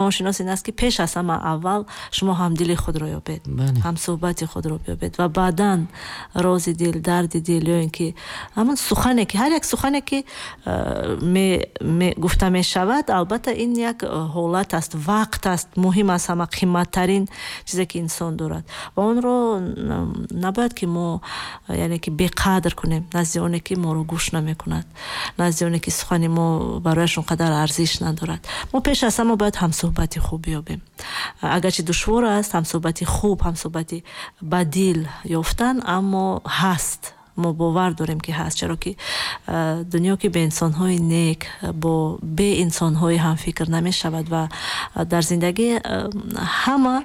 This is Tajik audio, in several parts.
равоншинос ин аст, ки пеш аз ҳама аввал шумо ҳамдили худро ёбед, ҳамсуҳбати худро биёбед ва баъдан рози дил, дарди дил ё ин ки ҳамон сухане ки ҳар як сухане ки гуфта мешавад, албатта ин як ҳолат аст, вақт аст, муҳим аст, ҳама қиматтарин чизе ки инсон дорад ва онро набояд ки мо, яъне ки беқадр кунем назди оне ки моро гӯш намекунад, назди оне ки сухани мо барояш он қадар арзиш надорад. Мо пеш аз ҳама бояд ҳамсуҳбати хуб биёбем. Агарчи душвор аст ҳамсуҳбати хуб, ҳамсуҳбати ба дил ёфтан, аммо ҳаст, мо бовар дорем ки ҳаст, чаро ки дунё ки бе инсонҳои нек, бо бе инсонҳои ҳамфикр намешавад ва дар зиндагӣ ҳама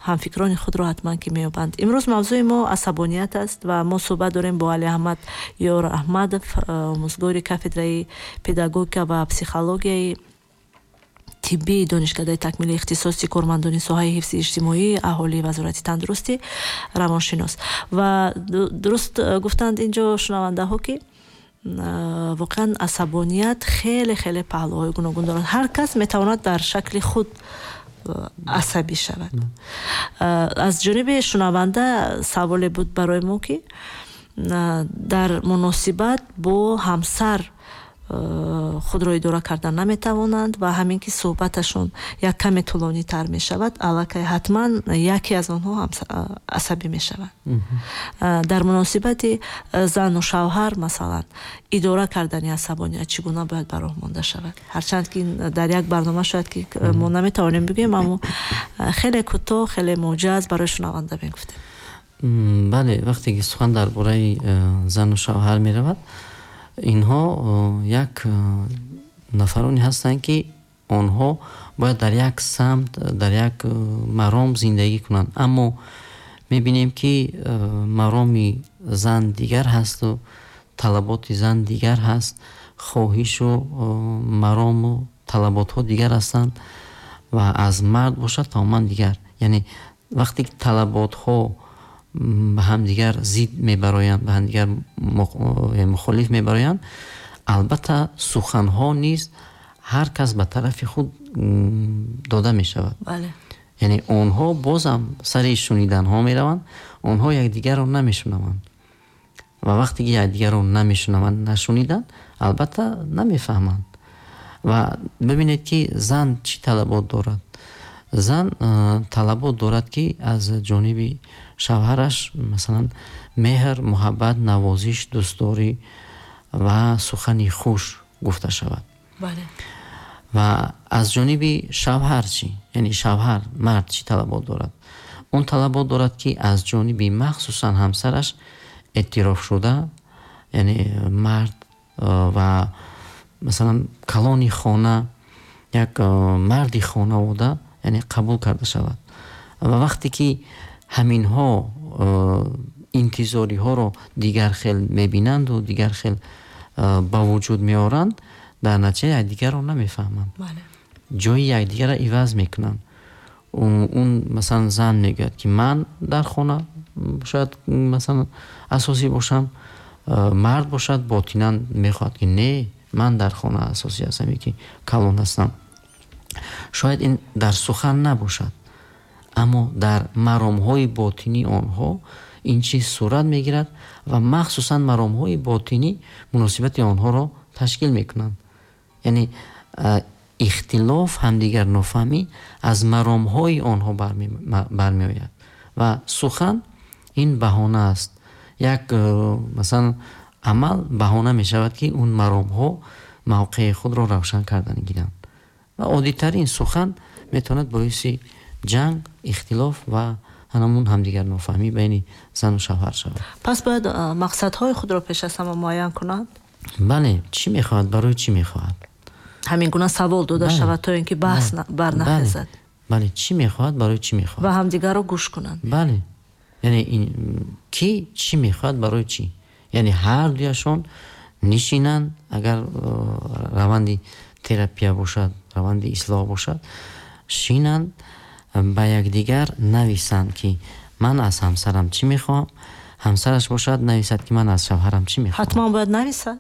ҳамфикрони худро ҳатман ки меёбанд. Имрӯз мавзӯи мо асабоният аст ва мо суҳбат дорем бо Алиаҳмад Ёр Аҳмадов, омӯзгори кафедраи педагогика ва психологияи тиббии Донишкадаи такмили ихтисоси кормандони соҳаи ҳифзи иҷтимоии аҳолии Вазорати тандурустӣ, равоншинос. Ва дуруст гуфтанд инҷо шунавандаҳо, ки воқеан асабоният хеле хеле паҳлӯҳои гуногун дорад. Ҳар кас метавонад дар шакли худ асабӣ шавад. Аз ҷониби шунаванда саволе буд барои мо, ки дар муносибат бо ҳамсар худро идора кардан наметавонанд ва ҳамин ки суҳбаташон як каме тӯлонитар мешавад, аллакай ҳатман яке аз онҳо асабӣ мешавад. Дар муносибати зану шавҳар, масалан, идора кардани асабоният чӣ гуна бояд ба роҳ монда шавад? Ҳарчанд ки дар як барнома шояд ки мо наметавонем бигӯем, аммо хеле кӯтоҳ, хеле муҷаз барои шунаванда мегуфтем. Бале, вақте ки сухан дар бораи зану шавҳар меравад, инҳо як нафароне ҳастанд, ки онҳо бояд дар як самт, дар як маром зиндагӣ кунанд, аммо мебинем, ки мароми зан дигар ҳасту талаботи зан дигар ҳаст, хоҳишу марому талаботҳо дигар ҳастанд ва аз мард бошад тамоман дигар. Яъне вақте ки талаботҳо ба ҳамдигар зид мебароянд, ба ҳамдигар мухолиф мебароянд, албатта суханҳо низ ҳар кас ба тарафи худ дода мешавад. Яъне онҳо бозам сари шуниданҳо мераванд, онҳо якдигарро намешунаванд ва вақте ки якдигарро намешунаванд, нашуниданд, албатта намефаҳманд. Ва бибинед, ки зан чӣ талабот дорад. Зан талабот дорад, ки аз ҷониби шавҳараш, масалан, меҳр, муҳаббат, навозиш, дӯстдорӣ ва сухани хуш гуфта шавад. Ва аз ҷониби шавҳар чӣ? Яъне шавҳар, мард чӣ талабот дорад? Он талабот дорад, ки аз ҷониби махсусан ҳамсараш эътироф шуда, яъне мард ва масалан калони хона, як марди хонавода, яъне қабул карда шавад. Ва вақте ки ҳаминҳо интизориҳоро дигар хел мебинанду дигар хел ба вуҷуд меоранд, дар натиҷа якдигарро намефаҳманд, ҷои якдигарро иваз мекунанд. Он масалан зан мегӯяд, ки ман дар хона шояд масалан асосӣ бошам, мард бошад ботинан мехоҳад, ки не, ман дар хона асосӣ ҳастам, ки калон ҳастам. Шояд ин дар сухан набошад, аммо дар маромҳои ботинии онҳо ин чиз сурат мегирад ва махсусан маромҳои ботинӣ муносибати онҳоро ташкил мекунанд. Яъне ихтилоф, ҳамдигар нофаҳмӣ аз маромҳои онҳо бармеояд ва сухан ин баҳона аст. Як масалан амал баҳона мешавад, ки он маромҳо мавқеи худро равшан кардан гиранд. Ва оддитарин сухан метавонад боиси ҷанг, ихтилоф ва ҳамон ҳамдигар нофаҳмӣ байни зану шавҳар шавад. Пас бояд мақсадҳои худро пеш аз ҳама муайян кунанд? Бале, чӣ мехоҳад, барои чӣ мехоҳад? Ҳамин гуна савол дода шавад, то ин ки баҳс барнахезад. Бале, чӣ мехоҳад, барои чӣ мехоҳад? Ва ҳамдигарро гӯш кунанд. Бале, яъне ки чӣ мехоҳад, барои чӣ? Яъне ҳар дуяшон нишинанд, агар раванди терапия бошад, раванди ислоҳ бошад, шинанд, ба якдигар нависанд, ки ман аз ҳамсарам чӣ мехоҳам, ҳамсараш бошад нависад, ки ман аз шавҳарам чӣ мехоҳам. Ҳатман бояд нависад?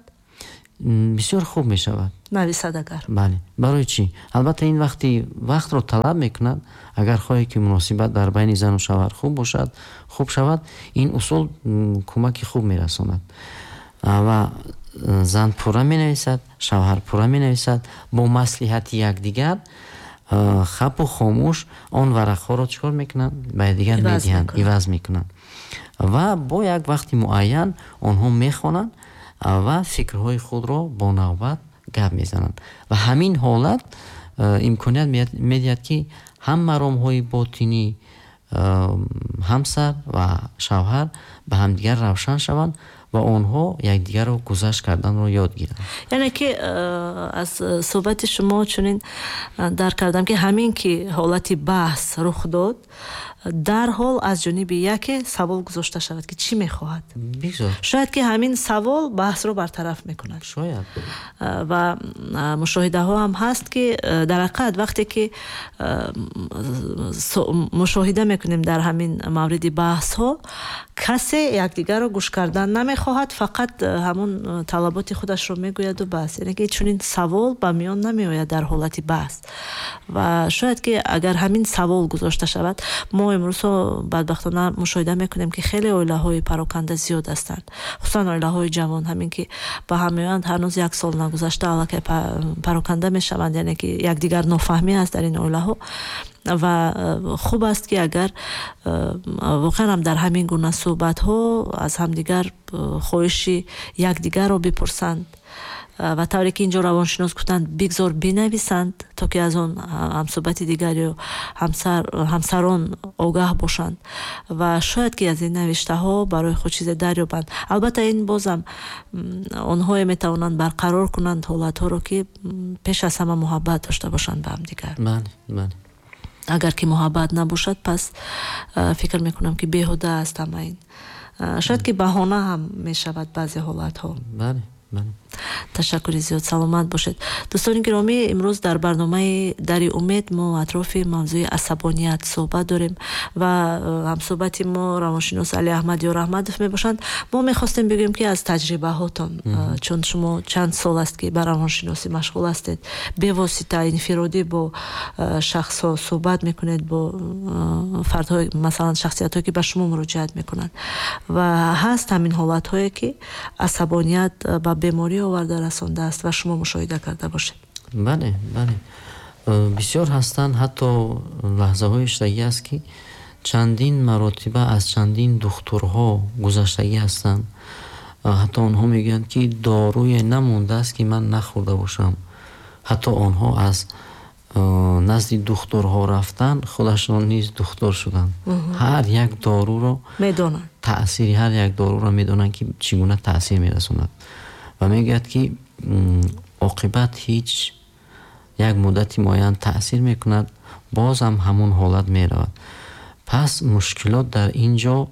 Бисёр хуб мешавад. Нависад агар. Бале. Барои чӣ? Албатта ин вақти вақтро талаб мекунад. Агар хоҳед, ки муносибат дар байни зану шавҳар хуб бошад, хуб шавад, ин усул кӯмаки хуб мерасонад. Ва зан пурра менависад, шавҳар пурра менависад, бо маслиҳати якдигар хапу хомӯш он варақҳоро чӣ кор мекунанд? Ба якдигар медиҳанд, иваз мекунанд. Ва бо як вақти муайян онҳо мехонанд ва фикрҳои худро бо навбат гап мезананд. Ва ҳамин ҳолат имконият медиҳад, ки ҳам маромҳои ботинӣ ҳамсар ва шавҳар ба ҳамдигар равшан шаванд ва онҳо якдигарро гузашт карданро ёд гиранд. Яъне ки аз суҳбати шумо чунин дарк кардам, ки ҳамин ки ҳолати баҳс рух дод, дарҳол аз ҷониби яке савол гузошта шавад, ки чӣ мехоҳад. Бигзор. Шояд ки ҳамин савол баҳсро бартараф мекунад. Шояд. Ва мушоҳидаҳо ҳам ҳаст, ки дар ҳақиқат вақте ки мушоҳида мекунем дар ҳамин мавриди баҳсҳо, касе якдигарро гӯш кардан намехоҳад, фақат ҳамон талаботи худашро мегӯяду бас. Яъне ки чунин савол ба миён намеояд дар ҳолати баҳс. Ва шояд ки агар ҳамин савол гузошта шавад, мо имрӯзҳо бадбахтона мушоҳида мекунем, ки хеле оилаҳои пароканда зиёд ҳастанд, хусусан оилаҳои ҷавон, ҳамин ки ба ҳам меоянд, ҳанӯз як сол нагузашта аллакай пароканда мешаванд, яъне ки якдигар нофаҳмӣ аст дар ин оилаҳо. Ва хуб аст, ки агар воқеан ҳам дар ҳамин гуна суҳбатҳо аз ҳамдигар хоҳиши якдигарро бипурсанд ва тавре ки инҷо равоншинос гуфтанд, бигзор бинависанд, то ки аз он ҳамсуҳбати дигар ё ҳамсарон огаҳ бошанд ва шояд ки аз ин навиштаҳо барои худ чизе дарёбанд. Албатта ин бозам онҳое метавонанд барқарор кунанд ҳолатҳоро, ки пеш аз ҳама муҳаббат дошта бошанд ба ҳамдигар. Бале, бале. Агар ки муҳаббат набошад, пас фикр мекунам, ки беҳуда аст ҳама ин. Шояд ки баҳона ҳам мешавад баъзе ҳолатҳо. Бале, бале. Ташаккури зиёд, саломат бошед. Дӯстони гиромӣ, имрӯз дар барномаи Дари умед мо атрофи мавзӯи асабоният суҳбат дорем ва ҳамсуҳбати мо равоншинос Али Аҳмад Ёраҳмадов мебошанд. Мо мехостем бигӯем, ки аз таҷрибаҳотон, чун шумо чанд сол аст, ки ба равоншиносӣ машғул ҳастед, бевосита инфиродӣ бо шахсҳо суҳбат мекунед, бо фардҳои, масалан, шахсиятҳое, ки ба шумо муроҷиат мекунанд, ва ҳаст ҳамин ҳолатҳое, ки асабоният ба беморӣ оварда расондааст ва шумо мушоҳида карда бошед. Бале, бале, бисёр ҳастанд. Ҳатто лаҳзаҳои шудагӣ аст, ки чандин маротиба аз чандин духтурҳо гузаштагӣ ҳастанд. Ҳатто онҳо мегӯянд, ки доруе намондааст, ки ман нахӯрда бошам. Ҳатто онҳо аз назди духтурҳо рафтан, худашон низ духтур шуданд. Ҳар як доруро медонанд, таъсири ҳар як доруро медонанд, ки чӣ гуна таъсир мерасонад. Ва мегӯяд, ки оқибат ҳеҷ, як муддати муайян таъсир мекунад, бозам ҳамон ҳолат меравад. Пас мушкилот дар ин ҷо,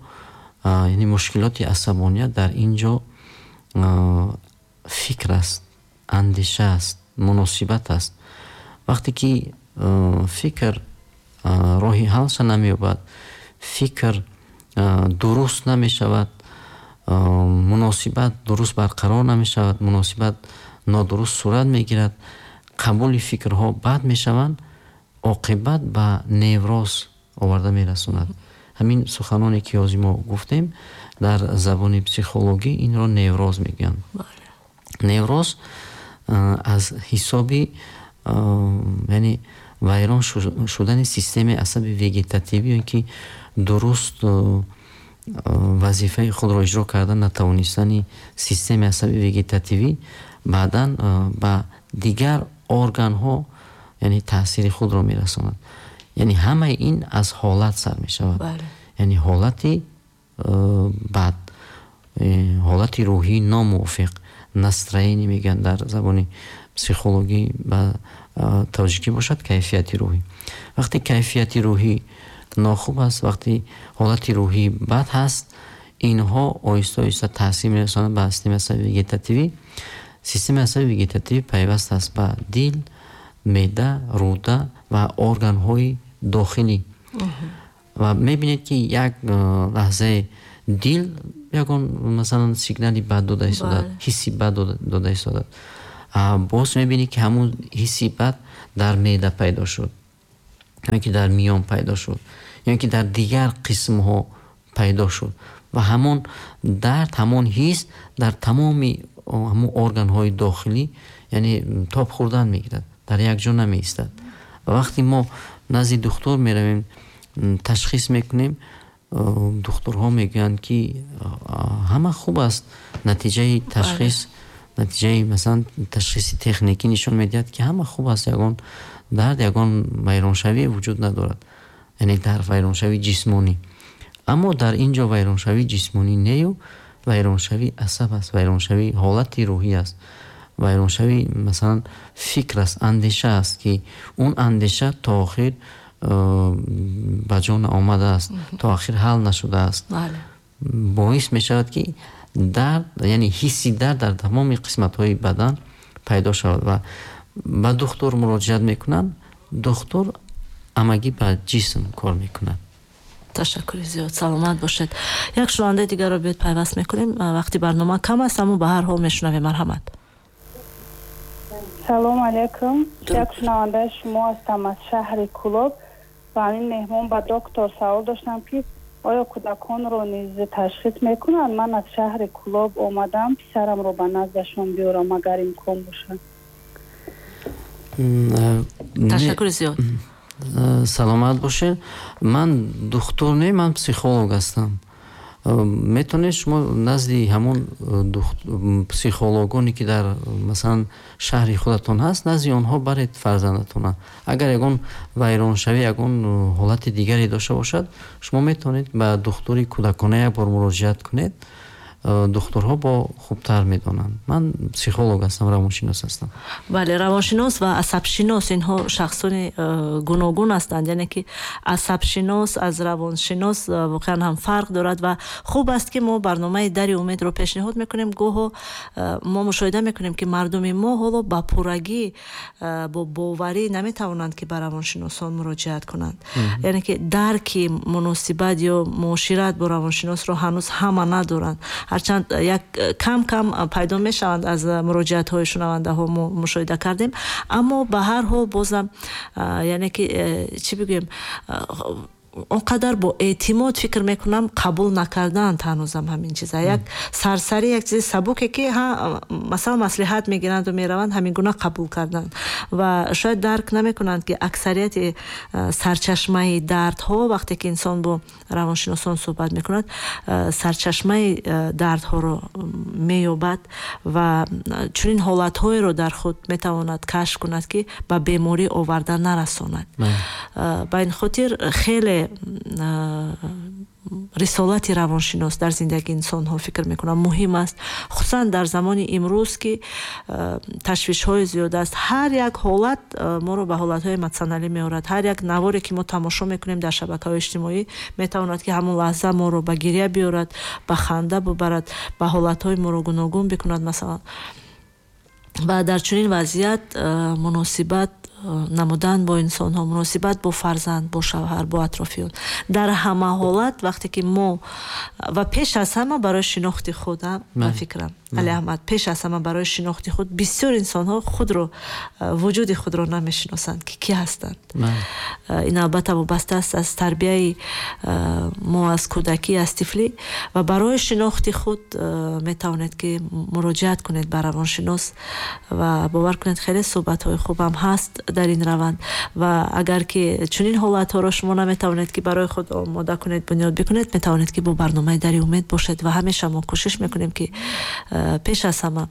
яъне мушкилоти асабоният дар ин ҷо фикр аст, андеша аст, муносибат аст. Вақте ки фикр роҳи ҳалша намеёбад, фикр дуруст намешавад, муносибат дуруст барқарор намешавад, муносибат нодуруст сурат мегирад, қабули фикрҳо бад мешаванд, оқибат ба невроз оварда мерасонад. Ҳамин суханоне, ки ҳозир мо гуфтем, дар забони психологӣ инро невроз мегӯянд. Невроз аз ҳисоби, яъне вайрон шудани системаи асаби вегетативӣ ё ки дуруст вазифаи худро иҷро карда натавонистани системаи асаби вегетативӣ баъдан ба дигар органҳо, яъне таъсири худро мерасонад. Яъне ҳамаи ин аз ҳолат сар мешавад, яъне ҳолати бад, ҳолати рӯҳии номувофиқ, настроение мегӯянд дар забони психологӣ, ба тоҷикӣ бошад кайфияти рӯҳӣ. Вақте кайфияти рӯҳӣ нохуб аст, вақте ҳолати рӯҳӣ бад ҳаст, инҳо оҳиста оҳиста таъсир мерасонанд ба системаи асаби вегетативӣ. Системаи асаби вегетативӣ пайваст аст ба дил, меъда, рӯда ва органҳои дохилӣ. Ва мебинед, ки як лаҳзаи дил ягон масалан сигнали бад дода истодад, ҳисси бад дода истодад. Боз мебинӣ, ки ҳамун ҳисси бад дар меъда пайдо шуд, ё ки дар миён пайдо шуд, ё ки дар дигар қисмҳо пайдо шуд ва ҳамон дард, ҳамон ҳис дар тамоми ҳамон органҳои дохилӣ, яъне тоб хӯрдан мегирад, дар як ҷо намеистад. Ва вақте мо назди духтур меравем, ташхис мекунем, духтурҳо мегӯянд, ки ҳама хуб аст, натиҷаи ташхис, натиҷаи масалан ташхиси техникӣ нишон медиҳад, ки ҳама хуб аст, ягон дард, ягон вайроншавӣ вуҷуд надорад, яъне дар вайроншавии ҷисмонӣ. Аммо дар ин ҷо вайроншавии ҷисмонӣ нею вайроншавии асаб аст, вайроншавии ҳолати рӯҳӣ аст, вайроншавии масалан фикр аст, андеша аст, ки он андеша то охир ба ҷо наомадааст, то охир ҳал нашудааст. Боис мешавад, ки дард, яъне ҳисси дард дар тамоми қисматҳои бадан пайдо шавад ва ба духтур муроҷиат мекунанд. Духтур амагӣ ба ҷисм кор мекунад. Ташаккури зиёд, саломат бошед. Як шунавандаи дигарро биёед пайваст мекунем. Вақти барнома кам аст, аммо ба ҳар ҳол мешунавем. Марҳамат. Салом алейкум. Як шунавандаи шумо ҳастам аз шаҳри Кӯлоб. Ба ҳамин меҳмон, ба доктор савол доштам, ки оё кӯдаконро низ ташхис мекунанд? Ман аз шаҳри Кӯлоб омадам, писарамро ба наздашон биёрам, агар имкон бошад. Ташаккури зиёд. Саломат бошед. Ман духтур не, ман психолог ҳастам. Метавонед шумо назди ҳамон психологоне, ки дар масалан шаҳри худатон ҳаст, назди онҳо баред фарзандатона. Агар ягон вайроншавӣ, ягон ҳолати дигаре дошта бошад, шумо метавонед ба духтури кӯдакона як бор муроҷиат кунед. Духтурҳо бо хубтар медонанд. Ман психолог ҳастам, равоншинос ҳастам. Бале, равоншинос ва асабшинос инҳо шахсони гуногун ҳастанд, яъне ки асабшинос аз равоншинос воқеан ҳам фарқ дорад ва хуб аст, ки мо барномаи Дари умедро пешниҳод мекунем. Гоҳо мо мушоҳида мекунем, ки мардуми мо ҳоло ба пуррагӣ бо боварӣ наметавонанд, ки ба равоншиносон муроҷиат кунанд, яъне ки дарки муносибат ё муошират бо равоншиносро ҳанӯз ҳама надоранд, ҳарчанд як кам кам пайдо мешаванд, аз муроҷиатҳои шунавандаҳо мо мушоҳида кардем, аммо ба ҳар ҳол бозам, яъне ки чӣ бигӯем, он қадар бо эътимод, фикр мекунам, қабул накардаанд ҳанӯзам ҳамин чиза. Як сарсарӣ, як чизи сабуке, ки масалан маслиҳат мегиранду мераванд, ҳамин гуна қабул карданд ва шояд дарк намекунанд, ки аксарияти сарчашмаи дардҳо, вақте ки инсон бо равоншиносон суҳбат мекунад, сарчашмаи дардҳоро меёбад ва чунин ҳолатҳоеро дар худ метавонад кашф кунад, ки ба беморӣ оварда нарасонад. Ба ин хотир хеле рисолати равоншинос дар зиндагии инсонҳо, фикр мекунам, муҳим аст, хусусан дар замони имрӯз, ки ташвишҳои зиёд аст. Ҳар як ҳолат моро ба ҳолатҳои эмотсионалӣ меорад. Ҳар як наворе, ки мо тамошо мекунем дар шабакаҳои иҷтимоӣ, метавонад, ки ҳамон лаҳза моро ба гиря биёрад, ба ханда бубарад, ба ҳолатҳои моро гуногун бикунад, масалан. Ва дар чунин вазъият муносибат намудан бо инсонҳо, муносибат бо фарзанд, бо шавҳар, бо атрофиён, дар ҳама ҳолат вақте ки мо ва пеш аз ҳама барои шинохти худ, ба фикрам, Али Аҳмад, пеш аз ҳама барои шинохти худ. Бисёр инсонҳо худро, вуҷуди худро намешиносанд, ки кӣ ҳастанд. Ин албатта вобаста аст аз тарбияи мо аз кӯдакӣ, аз тифлӣ. Ва барои шинохти худ метавонед, ки муроҷиат кунед ба равоншинос ва бовар кунед, хеле суҳбатҳои хубам ҳаст дар ин раванд. Ва агар ки чунин ҳолатҳоро шумо наметавонед, ки барои худ омода кунед, бунёд бикунед, метавонед, ки бо барномаи Дари умед бошед ва ҳамеша мо кӯшиш мекунем, ки пеш аз ҳама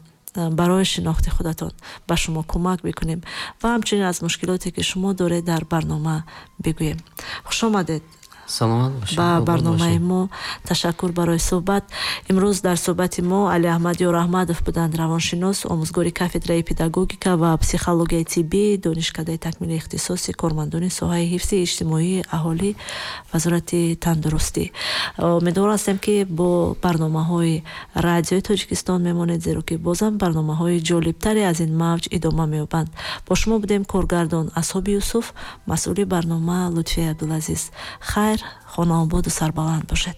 барои шинохти худатон ба шумо кӯмак бикунем ва ҳамчунин аз мушкилоте, ки шумо доред, дар барнома бигӯем. Хуш омадед Саломат бошед. Ба барномаи мо. Ташаккур барои суҳбат. Имрӯз дар суҳбати мо Али Аҳмад Ёраҳмадов буданд, равоншинос, омӯзгори кафедраи педагогика ва психологияи тиббӣ Донишкадаи такмили ихтисоси кормандони соҳаи ҳифзи иҷтимоии аҳолӣ, Вазорати тандурустӣ. Умедвор ҳастем, ки бо барномаҳои Радиои Тоҷикистон мемонед, зеро ки бозам барномаҳои ҷолибтаре аз ин мавҷ идома меёбанд. Бо шумо будем коргардон Асҳоби Юсуф, масъули барнома Лутфия Абдулазиз. Хайр, хонаободу сарбаланд бошед.